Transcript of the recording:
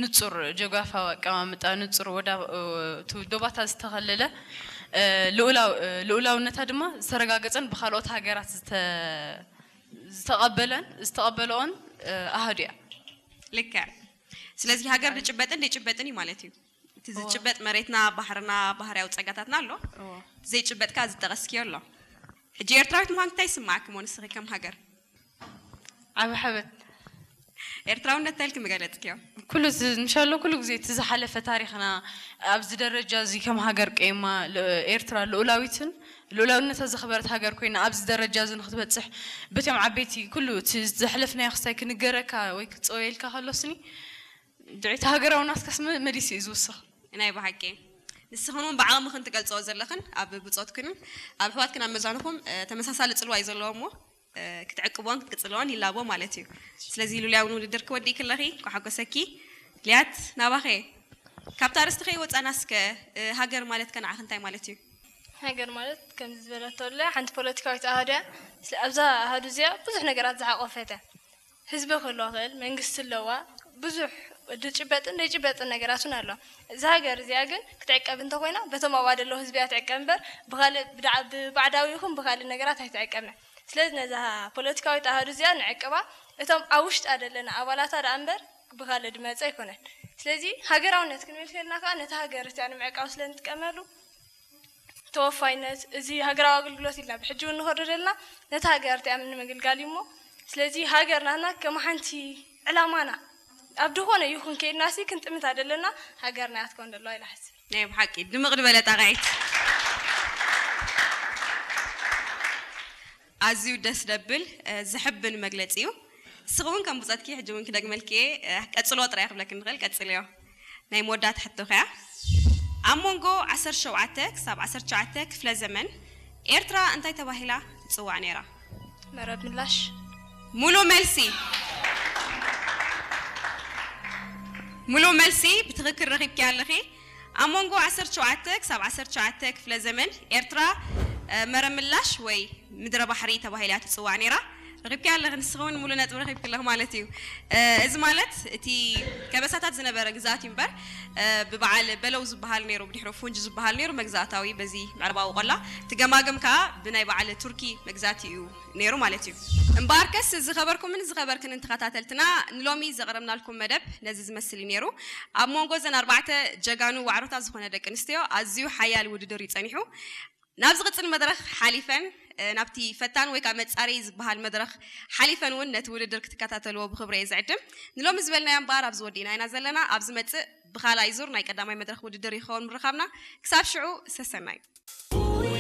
ንጹር ጂኦግራፋዊ ኣቀማምጣ፣ ንጹር ወዳ-፣ እ፣ እቲ ዶባታ ዝተኸለለ፣ እ፣ ልኡላው-፣ እ፣ ልኡላውነታ ድማ ዝተረጋገጸን ብኻልኦት ሃገራት ዝተ-፣ ዝተቐበለን፣ ዝተቐበለኦን፣ እ፣ ኣሃዱ እያ። ልክዕ። ስለዚ ሃገር ዝጭበጥን ዘይጭበጥን እዩ ማለት እዩ። እቲ ዝጭበጥ መሬትና፣ ባህርና፣ ባህርያዊ ጸጋታትና ኣሎ። እዎ። ዘይጭበጥካ ዝጠቐስክዮ ኣሎ። ሕጂ ኤርትራዊት ምዃን እንታይ ይስማዓኪ እሞ ንስኺ ከም ሃገር? ዓቢ ሓበን። ኤርትራውነት እንታይ ኢልኪ ምገለጽክዮ? ኩሉ እዚ፣ እንሻሎ ኩሉ ግዜ እቲ ዝሓለፈ ታሪኽና ኣብዚ ደረጃ እዚ ከም ሃገር ቀይማ ል-፣ ኤርትራ ልኡላዊትን ልኡላውነታ ዘኽበረት ሃገር ኮይና ኣብዚ ደረጃ እዚ ንክትበጽሕ በቶም ዓበይቲ ኩሉ እቲ ዘሕለፍናዮ ክስታይ ክንገረካ ወይ ክጸወየልካ ከሎስኒ ድዒቲ ሃገራዊ ናትካስ መ-፣ መሊሱ እዩ ዝውስኽ። ናይ ብሓቂ ንስኽን እውን ብዓቕምኽን ትገልጽኦ ዘለኽን ኣብ ብጾትክንን ኣብ ኣሕዋትክን ኣብ መዛንኹም፣ እ፣ ተመሳሳሊ ጽልዋ እዩ ዘለዎ እሞ፣ እ፣ ክትዕቅብዎን ክትቅጽልዎን ይላቦ ማለት እዩ። ስለዚ ሉልያ እውን ውድድር ክወዲእኪ ኣለኺ፣ እንኳዕ ሓጎሰኪ። ሊያት ናባኸ። ካብታ ኣርእስቲ ከይወጻና እስከ፣ እ፣ ሃገር ማለት ከ ንዓኺ እንታይ ማለት እዩ? ሃገር ማለት ከምዚ ዝበለቶ ኣለ ሓንቲ ፖለቲካዊት ኣሃዱ እያ። ስለ ኣብዛ ኣሃዱ እዚኣ ብዙሕ ነገራት ዝሓቆፈት እያ። ህዝቢ ክህልዋ ክእል፣ መንግስቲ ኣለዋ፣ ብዙሕ ዝጭበጥን ዘይጭበጥን ነገራት እውን ኣሎ። እዛ ሃገር እዚኣ ግን ክትዕቀብ እንተኮይና በቶም ኣብኣ ዘለዉ ህዝቢ እያ ትዕቀብ እምበር ብካልእ ብዳ-፣ ብባዕዳዊ ይኹን ብካልእ ነገራት ኣይትዕቀብን። ስለዚ ነዛ ፖለቲካዊት ኣሃዱ እዚኣ ንዕቅባ፣ እቶም ኣብ ውሽጣ ዘለና ኣባላታ ደኣ እምበር ብካልእ ድመፀ ኣይኮነን። ስለዚ ሃገራውነት ክንብል ከልና ከዓ ነቲ ሃገር እቲኣ ንምዕቃብ ስለ ንጥቀመሉ ተወፋይነት፣ እዚ ሃገራዊ ኣገልግሎት ኢልና ብሕጂ እውን ንኸዶ ዘለና ነቲ ሃገር እቲኣ ንምግልጋል እዩ እሞ፣ ስለዚ ሃገር ናትና ከም ሓንቲ ዕላማና ኣብ ዝኾነ ይኹን ከይድናሲ ክንጥምታ ዘለና ሃገርና እያ ትከውን ዘለዋ ኢላ ሓስብ። ናይ ብሓቂ ድምቕ ዝበለ ጣቕዒት። ኣዝዩ ደስ ደብል፣ እ፣ ዝሕብን መግለጺ እዩ። ንስኺ እውን ከም ብጾትኪ ሕጂ እውን ክደግመልኪ እየ፣ እ፣ ቀጽሎ ጥራይ ክብለኪ ንኽእል፣ ቀጽልዮ። ናይ መወዳእታ ሕቶኺ እያ። ኣብ መንጎ ዓሰርተ ሸውዓተ ክሳብ ዓሰርተ ትሽዓተ ክፍለ ዘመን ኤርትራ እንታይ ተባሂላ ትጽዋዕ ነይራ? መረብ ምላሽ። ሙሉእ መልሲ። ሙሉእ መልሲ ብትኽክል ረኺብኪ ኣለኺ። ኣብ መንጎ ዓሰርተ ሸውዓተ ክሳብ ዓሰርተ ትሽዓተ ክፍለ ዘመን ኤርትራ፣ እ፣ መረብ ምላሽ ወይ ምድረ ባሕሪ ተባሂላ ትጽዋዕ ነይራ። ረኺብኪ ኣለኺ፣ ንስኺ እውን ሙሉእ ነጥቢ ረኺብኪ ኣለኺ ማለት እዩ። እ፣ እዚ ማለት እቲ ከበሳታት ዝነበረ ግዝኣት እዩ እምበር፣ እ፣ ብበዓል በለው ዝበሃል ነይሩ፣ ብድሕሪኡ ፉንጅ ዝበሃል ነይሩ መግዛእታዊ በዚ ምዕራባዊ ቆላ። እቲ ገማግም ከኣ ብናይ በዓል ቱርኪ መግዛእቲ እዩ ነይሩ ማለት እዩ። እምበኣርከስ ዝኸበርኩምን ዝኸበርክንን ተኸታተልትና ንሎሚ ዘቕረብናልኩም መደብ ነዚ ዝመስል እዩ ነይሩ። ኣብ መንጎ እዘን ኣርባዕተ ጀጋኑ ዋዕሮታት ዝኾነ ደቂ ኣንስትዮ ኣዝዩ ሓያል ውድድር እዩ ጸኒሑ። ናብ ዝቕጽል መድረኽ ሓሊፈን፣ እ፣ ናብቲ ፈታን ወይ ከዓ መጻረዪ ዝበሃል መድረኽ ሓሊፈን እውን ነቲ ውድድር ክትከታተልዎ ብኽብሪ እየ ዝዕድም። ንሎሚ ዝበልናዮ እምበኣር ኣብዚ ወዲእና ኢና ዘለና። ኣብ ዝመጽእ ብኻልኣይ ዙር ናይ ቀዳማይ መድረኽ ውድድር ይኸውን ምርኻብና። ክሳብ ሽዑ ሰሰናዩ።